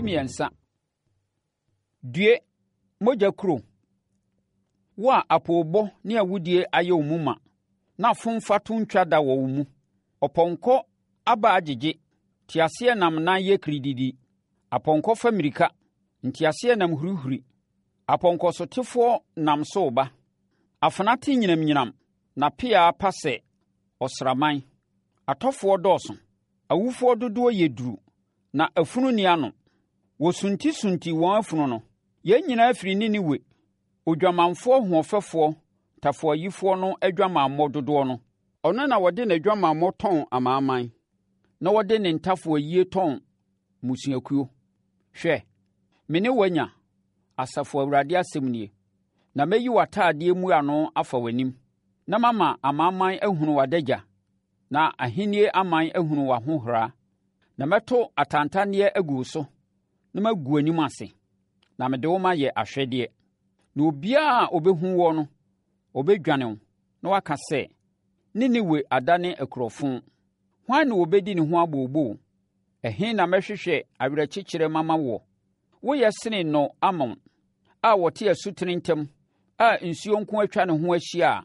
3. Due, mogya kuro! Wo a apoobɔ ne awudie ayɛ wo mu ma, na fomfa to ntwa da wɔ wo mu. Ɔpɔnkɔ abaa gyegye, teaseɛnam nan yɛ kirididi. Apɔnkɔ fa mmirika, nteaseɛnam hurihuri. Apɔnkɔsotefoɔ nam so reba. Afena te nyinamnyinam, na pea pa sɛ ɔsraman. Atɔfoɔ dɔɔso, awufoɔ dodoɔ yɛ duru, na afunu nni ano. Wɔsuntisunti wɔn afunu no. Yɛn nyinaa firi Ninewe, odwamanfoɔ hoɔfɛfoɔ tafoayifoɔ no adwamammɔ dodoɔ no. Ɔno na ɔde n'adwamammɔ tɔn amanaman, na ɔde ne ntafoayie tɔn mmusuakuo. Hwɛ, me ne wo anya, Asafo Awurade asɛm nie, na mɛyi w'atadeɛ mmuano afa w'anim, na mama amanaman ahunu w'adagya, na ahennie aman ahunu w'ahohora. Na mɛto atantanneɛ agu wo so, na magu w'anim ase, na mede wo mayɛ ahwɛdeɛ. Na obiara a ɔbɛhu woɔ no, ɔbɛdwane wo, na waka sɛ, 'Ninewe adane akurofo. Hwan na ɔbɛdi ne ho abooboo? Ɛhe na mɛhwehwɛ awerɛkyekyerɛ mama woɔ? Woyɛ sene No Amon a ɔte asutene ntam a nsuo nko atwa ne ho ahyia a.